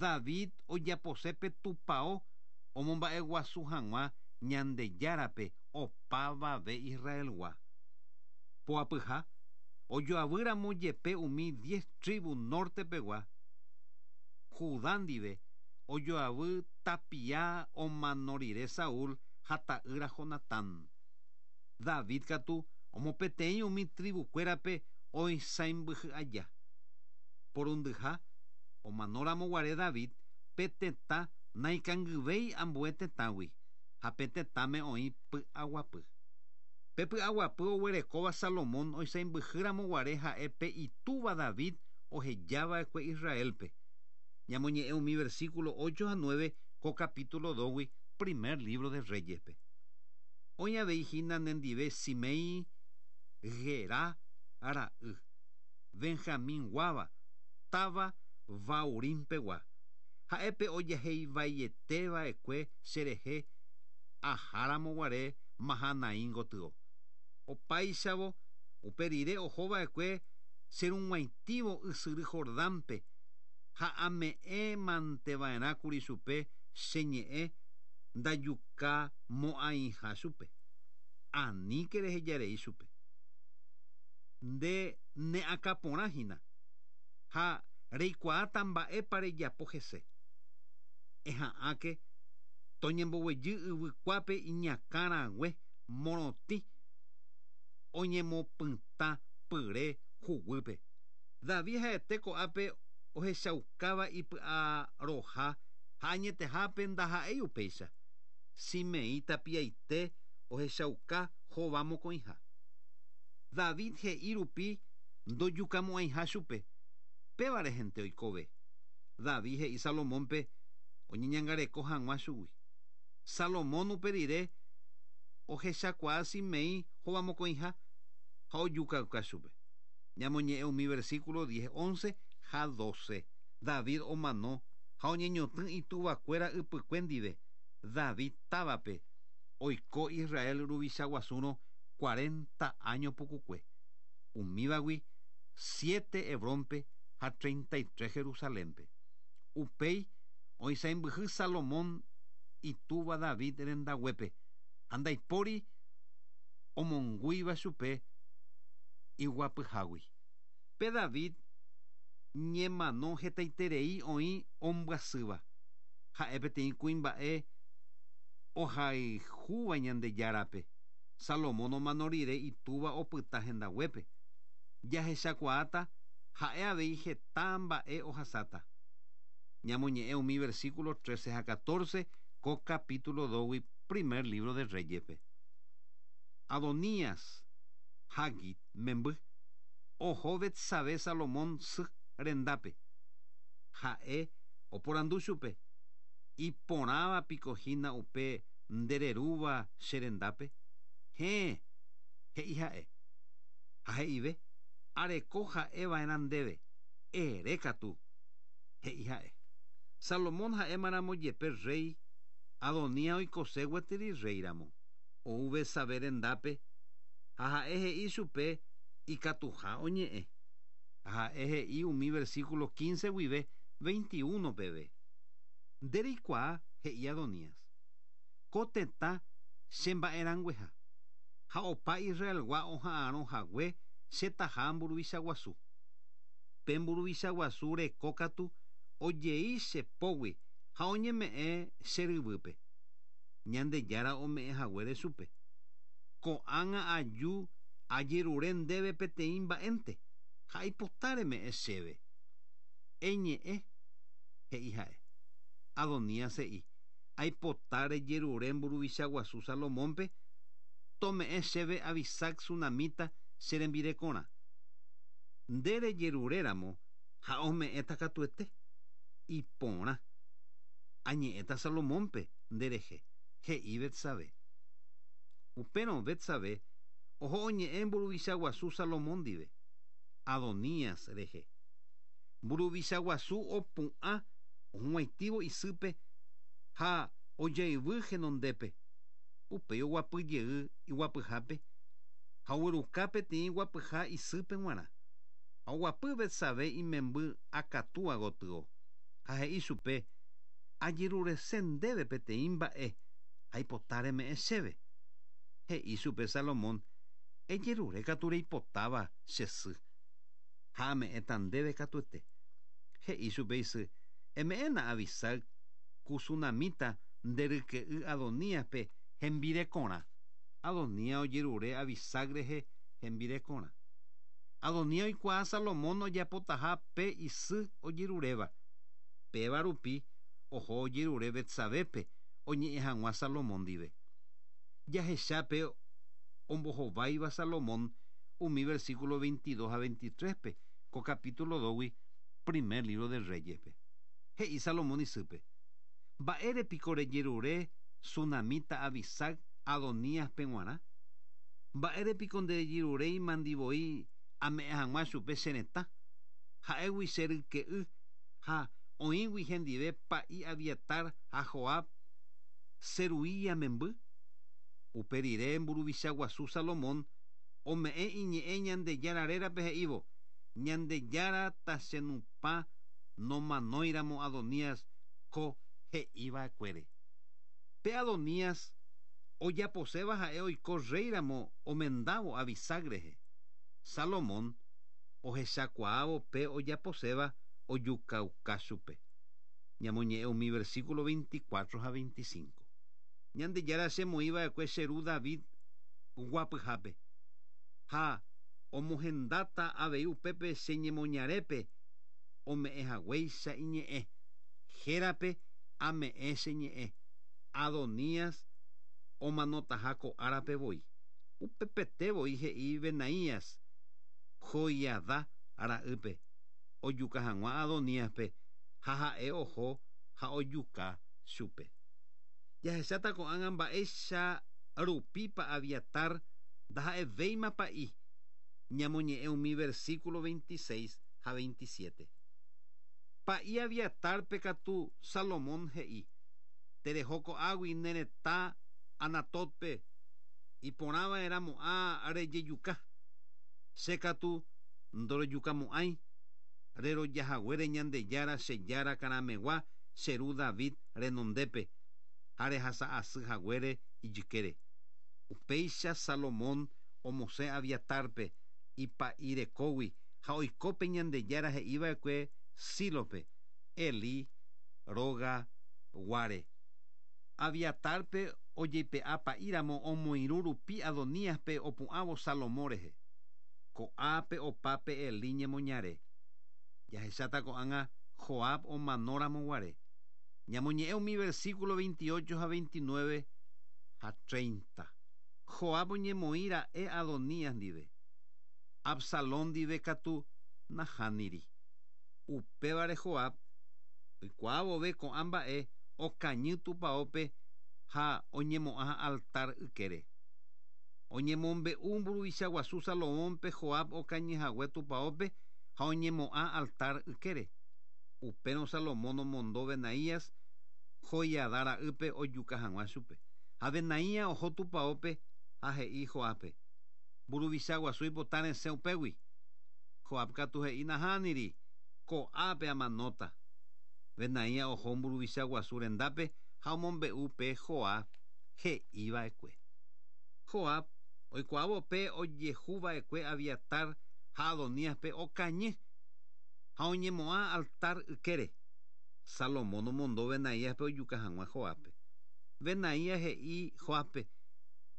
David ojapose pe tupao omomba'eguasu hag̃ua Ñandejárape opavave Israelgua. Poapyha, ojoavýramo jepe umi diez tribu norte pegua, Judá ndive ojoavy tapia omano rire Saúl ha ta'ýra Jonatán. David katu omopeteĩ umi tribu-kuérape oisãimbyhy aja. Porundyha, omanóramo guare David, pe tetã naikangyvéi ambue tetãgui, ha pe tetãme oĩ py'aguapy. Pe py'aguapy oguerekóva Salomón oisãimbyhýramo guare ha'e pe itúva David ohejava'ekue Israélpe. Ñamoñe'ẽ umi versículo 8 ha 9 ko capítulo 2-gui primer libro de Reyes-pe. Oĩ avei hína nendive Simei, Gerá ra'y, Benjamín guáva, táva Bahurim pegua. Ha'e pe ojaheivaiete va'ekue cherehe aháramo guare Mahanaim gotyo. Opáichavo, upe rire oho va'ekue cherug̃uaitĩvo ysyry Jordánpe, ha ame'ẽ mante va'erã kuri chupe che ñe'ẽ ndajuka mo'ãiha chupe. Aníke rehejarei chupe. Nde ne akã porã hína, ha reikuaáta mba'épa rejapo hese. Eha'ãke toñemboguejy yvy kuápe iñakã rague morotĩ oñemopytã pyre huguýpe. David ha'ete ko'ápe ohechaukáva ipy'aroha ha añetehápe ndaha'éi upéicha. Simeí tapiaite ohechauka hova mokõiha. David he'i rupi ndojukamo'ãiha chupe, péva rehente oikove. David he'i Salomónpe oñeñangareko hag̃ua chugui. Salomón upe rire ohechakuaa Simeí hova mokõiha ha ojukauka chupe. Ñamoñe'ẽ umi versículo 10, 11 ha 12. David omano ha oñeñotỹ ituvakuéra ypykue ndive, David távape, oiko Israel ruvicha guasúrõ cuarenta áño pukukue, umívagui siete Hebrónpe ha 33 Jerusalénpe. Upéi oisãimbyhy Salomón itúva David rendaguépe, ha ndaipóri omongúiva chupe iguapyhágui. Pe David ñemano hetaiterei oĩ ombyasýva. Ha'e peteĩ kuimba'e ohayhúva Ñandejárape. Salomón omano rire itúva opyta hendaguépe. Jahechakuaáta ha'e avei heta mba'e ohasáta. Ñamoñe'ẽ umi versículo 13 ha 14 ko capítulo 2-gui primer libro de Reyes-pe. Adonías, Hagit memby, oho Betsabé Salomón sy rendápe. Ha'e oporandu chupe, Iporãva piko hína upe nde rerúva che rendápe? Héẽ, he'i ha'e. Ha he'ive, Areko ha'e va'erã ndéve, ere katu, he'i ha'e. Salomón ha'émaramo jepe rréi, Adonías oikose gueteri rréiramo. Ou Betsabé rendápe ha ha'e he'i chupe ikatuha oñe'ẽ. Ha ha'e he'i umi versículo 15 guive 21 peve. Nde reikuaa, he'i Adonías, ko tetã che mba'erãngueha, ha opa Israelgua oha'arõ hague che taha mburuvicha guasu. Pe mburuvicha guasu reko katu ojei che pógui ha oñeme'ẽ che ryvýpe, Ñandejára ome'ẽ haguére chupe. Ko'ág̃a aju ajerure ndéve peteĩ mba'énte, ha aipota reme'ẽ chéve. Eñe'ẽ, he'i ha'e. Adonías he'i, Aipota rejerure mburuvicha guasu Salomónpe tome'ẽ chéve Abisac sunamíta che rembirekorã. Nde rejeruréramo ha ome'ẽta katuete. Iporã. Añe'ẽta Salomónpe nde rehe, he'i Betsabé. Upérõ Betsabé oho oñe'ẽ mburuvicha guasu Salomón ndive, Adonías rehe. Mburuvicha guasu opu'ã ohug̃uaitĩvo isýpe ha ojayvy henondépe. Upéi oguapy jey iguapyhápe ha ogueruka peteĩ guapyha isýpe g̃uarã. Ha oguapy Betsabé imemby akatúa gotyo. Ha he'i chupe, Ajerurese ndéve peteĩ mba'e, aipota reme'ẽ chéve. He'i chupe Salomón, Ejerure katu reipotáva che sy, ha ame'ẽta ndéve katuete. He'i chupe isy, Eme'ẽna Abisag ku sunamíta nde ryke'y Adoníaspe hembirekorã. Adonías ojerure Abisag rehe hembirekorã. Adonías oikuaa Salomón ojapotaha pe isy ojeruréva. Péva rupi oho ojerure Betsabépe oñe'ẽ hag̃ua Salomón ndive. Jahecha pe ombohováiva Salomón umi versículo 22 ha 23-pe ko capítulo 2-gui primer libro de Reyes-pe. He'i Salomón isýpe, Mba'ére piko rejerure sunamíta Abisag Adoníaspe g̃uarã? Mba'ére piko nderejeruréimandi voi ame'ẽ hag̃ua chupe che retã, ha'égui che ryke'y ha oĩgui hendive pa'i Abiatar ha Joab, Seruía memby? Upe rire mburuvicha guasu Salomón ome'ẽ iñe'ẽ Ñandejára rérape he'ívo, Ñandejára tachenupã nomanóiramo Adonías ko he'iva'ekuére. Pe Adonías ojaposéva ha'e oiko rréiramo omendávo Abisag rehe. Salomón ohechakuaávo pe ojaposéva ojukauka chupe. Ñamoñe'ẽ umi versículo 24 ha 25. Ñandejára chemoĩva'ekue che ru David guapyhápe, ha omohendáta avei upépe che ñemoñarépe ome'ẽ haguéicha iñe'ẽ. Hérape ame'ẽ che ñe'ẽ. Adonías omanotaha ko árape voi. Upepete voi he'i Benaías, Joiadá ra'ýpe, ojuka hag̃ua Adoníaspe, ha ha'e oho ha ojuka chupe. Jahecháta ko'ág̃a mba'éicha rupípa Abiatar ndaha'evéima pa'i, ñamoñe'ẽ umi versículo 26 ha 27. Pa'i Abiatárpe katu Salomón he'i, Tereho ko'águi ne retã Anatótpe, iporãva'erãmo'ã rejejuka. Che katu ndorojukamo'ãi, rerojahaguére Ñandejára che Jára karamegua che ru David renondépe, ha rehasa asy haguére ijykére. Upéicha Salomón omosẽ Abiatárpe ipa'i rekógui ha oiko pe Ñandejára he'iva'ekue Sílope, Elí róga guare. Abiatárpe ojeipe'a pa'íramo omoirũ rupi Adoníaspe opu'ãvo Salomón rehe. Ko'ápe opa pe Elí ñemoñare. Jahecháta ko'ág̃a Joab omanóramo guare. Ñamoñe'ẽ umi versículo 28 ha 29 ha 30. Joab oñemoĩ ra'e Adonías ndive. Absalón ndive katu nahániri. Upévare Joab oikuaa vove ko'ã mba'e okañy tupaópe ha oñemo'ã altar ykére. Oñemombe'u mburuvicha guasu Salomónpe Joab okañy hague tupaópe ha oñemo'ã altar ykére. Upérõ Salomón omondo Benaías, Joiadá ra'ýpe ojuka hag̃ua chupe. Ha Benaía oho tupaópe ha he'i Joábpe, Mburuvicha guasu oipota resẽ upégui. Joab katu he'i, Nahániri, ko'ápe amanóta. Benaía oho mburuvicha guasu rendápe ha omombe'u pe Joab he'i va'ekue. Joab oikuaávo pe ojehu va'ekue Abiatar ha Adoníaspe okañy ha oñemo'ã altar ykére. Salomón omondo Benaíaspe ojuka hag̃ua Joábpe. Benaías he'i Joábpe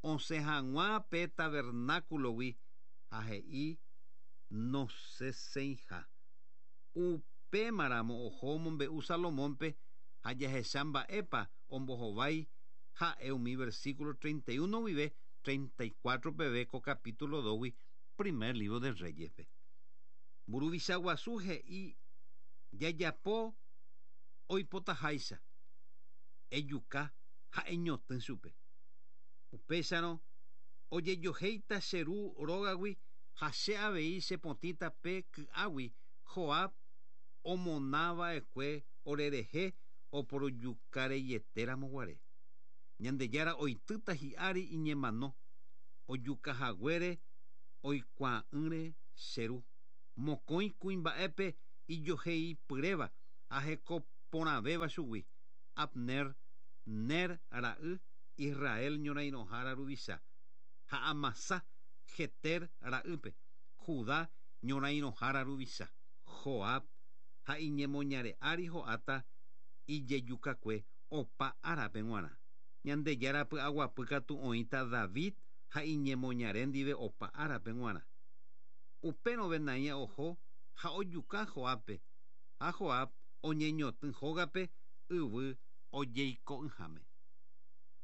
osẽ hag̃ua pe tabernáculogui ha he'i nosẽsẽiha. Upémaramo oho omombe'u Salomónpe ha jahecha mba'épa ombohovái ha'e umi versículo 31 guive 34 peve ko capítulo 2-gui primer libro de Reyes-pe. Mburuvicha guasu he'i jajapo oipotaháicha, ejuka ha eñotỹ chupe. Upéicharõ ojejohéita che ru rógagui ha che avei chepotĩta pe ky'águi Joab omona va'ekue orerehe oporojukareietéramo guare. Ñandejára oitýta hi'ári iñemano, ojuka haguére oikuaa'ỹre che ru. Mokõi kuimba'épe ijoheipyréva ha heko. Iporãvéva chugui, Abner, Ner ra'y, Israel ñorairõhára ruvicha, ha Amasá, Jeter ra'ýpe, Judá ñorairõhára ruvicha. Joab ha iñemoñare ári ho'áta ijejukakue opa árape g̃uarã. Ñandejára py'aguapy katu oĩta David ha iñemoñare ndive opa árape g̃uarã. Upérõ Benaía oho ha ojuka Joábpe, ha Joab oñeñotỹ hógape yvy ojeiko'ỹháme.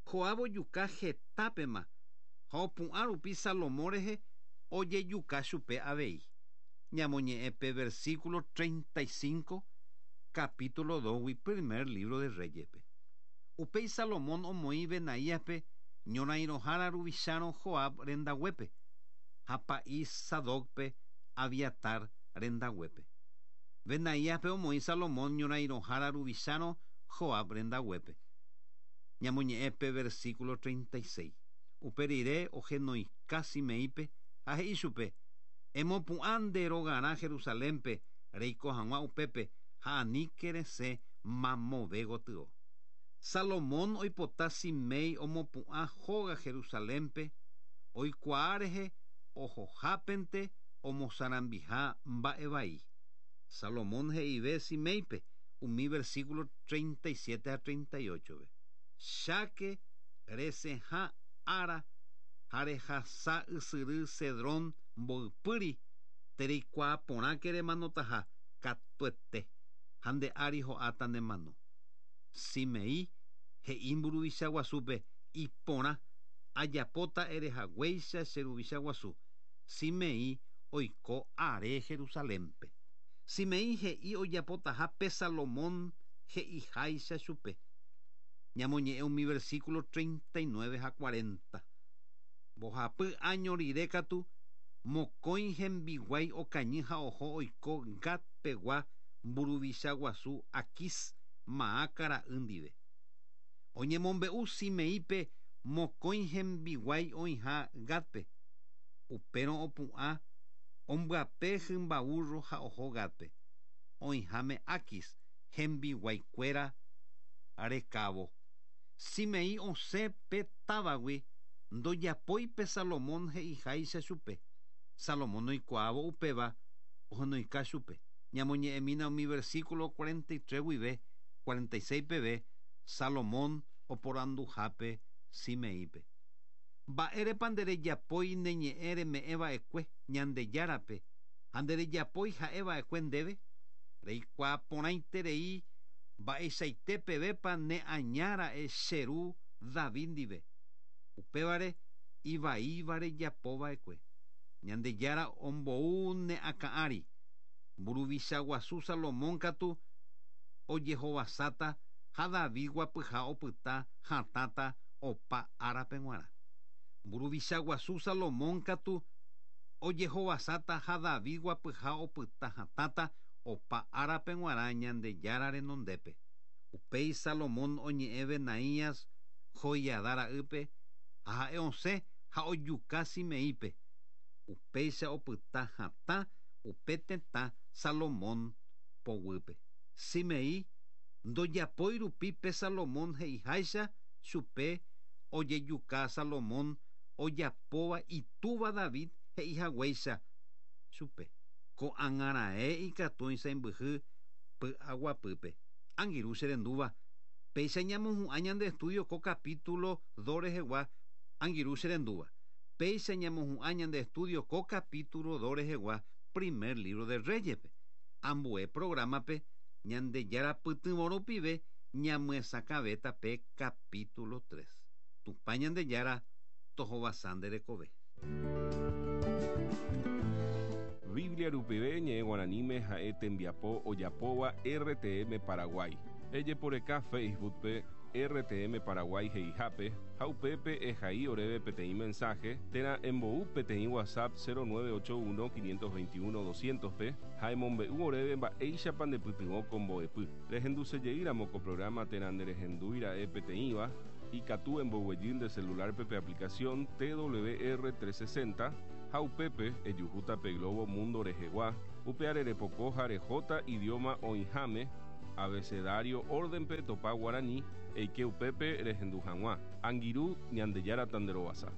Joab ojuka hetápema ha opu'ã rupi Salomón rehe ojejuka chupe avei. Ñamoñe'ẽ pe versículo 35, capítulo 2-gui primer libro de Reyes-pe. Upéi Salomón omoĩ Benaíaspe ñorairõhára ruvichárõ Joab rendaguépe, ha pa'i Sadócpe Abiatar rendaguépe. Benaíaspe omoĩ Salomón ñorairõhára ruvichárõ Joab rendaguépe. Ñamoñe'ẽ pe versículo 36. Upe rire ohenoika Simeípe ha he'i chupe, Emopu'ã nde rogarã Jerusalénpe reiko hag̃ua upépe ha aníke resẽ mamove gotyo. Salomón oipota Simei omopu'ã hóga Jerusalénpe, oikuaa rehe ohohápente omosarambiha mba'e vai. Salomón he'ive Siméipe umi versículo 37 ha 38-pe, Cháke resẽha ára ha rehasa ysyry Cedrón mboypýri, tereikuaa porãke remanotaha katuete, ha nde ári ho'áta ne mano. Simei he'i mburuvicha guasúpe, Iporã, ajapóta ere haguéicha che ruvicha guasu. Simei oiko are Jerusalénpe. Simei he'i ojapotaha pe Salomón he'iháicha chupe. Ñamoñe'ẽ umi versículo 39 ha 40. Mbohapy áño rire katu, mokõi hembiguái okañy ha oho oiko Gat pegua mburuvicha guasu Aquís, Maaca ra'y ndive. Oñemombe'u Simeípe mokõi hembiguái oĩha Gátpe. Upérõ opu'ã ombyape hymba vúrro ha oho Gátpe, oĩháme Aquis hembiguaikuéra rekávo. Simeí osẽ pe távagui ndojapói pe Salomón he'iháicha chupe. Salomón oikuaávo upéva ohenoika chupe. Ñamoñe'ẽmína umi versículo 43 guive 46 peve Salomón oporanduhápe Simeípe. Mba'érepa nderejapói ne ñe'ẽ reme'ẽ va'ekue Ñandejárape ha nderejapói ha'e va'ekue ndéve? Reikuaa porãiterei mba'eichaite pevépa ne aña ra'e che ru David ndive. Upévare ivaíva rejapo va'ekue. Ñandejára ombou ne akã ári. Mburuvicha guasu Salomón katu ojehovasáta ha David guapyha opyta hatãta opa árape g̃uarã. Mburuvicha guasu Salomón katu ojehovasáta ha David guapyha opyta hatãta opa árape g̃uarã Ñandejára renondépe. Upéi Salomón oñe'ẽ Benaías, Joiadá ra'ýpe, ha ha'e osẽ ha ojuka Simeípe. Upéicha opyta hatã upe tetã Salomón poguýpe. Simeí ndojapói rupi pe Salomón he'iháicha chupe ojejuka Salomón ojapóva itúva David he'ihaguéicha chupe. Ko'ág̃a raẽ ikatu oisãmbyhy py'aguapýpe. Angirũ che rendúva, péicha ñamohu'ã ñande estudio ko capítulo 2 rehegua. Angirũ che rendúva, péicha ñamohu'ã ñande estudio ko capítulo 2 rehegua primer libro de Reyes-pe. Ambue programa-pe Ñandejára pytyvõ rupive ñamyesakãvéta pe capítulo 3. Tupã Ñandejára tohovasa nde rekove. Biblia rupive ñe'ẽ guaraníme ha'e tembiapo ojapóva RTM Paraguay. Ejeporeka Facebook-pe RTM Paraguay he'ihápe ha upépe ehai oréve peteĩ mensaje térã embou peteĩ WhatsApp 0981 521 200-pe ha emombe'u oréve mba'éichapa ndepytyvõ ko mbo'epy. Rehendusejeýramo ko programa térã nderehendúi ra'e peteĩva, ikatu emboguejy nde celular-pe pe aplicación TWR 360 ha upépe ejuhúta pe globo mundo rehegua, upe arerepoko ha rehóta idioma oĩháme. Abecedario orden-pe etopa guarani, eike upépe rehendu hag̃ua. Angirũ, Ñandejára tanderovasa.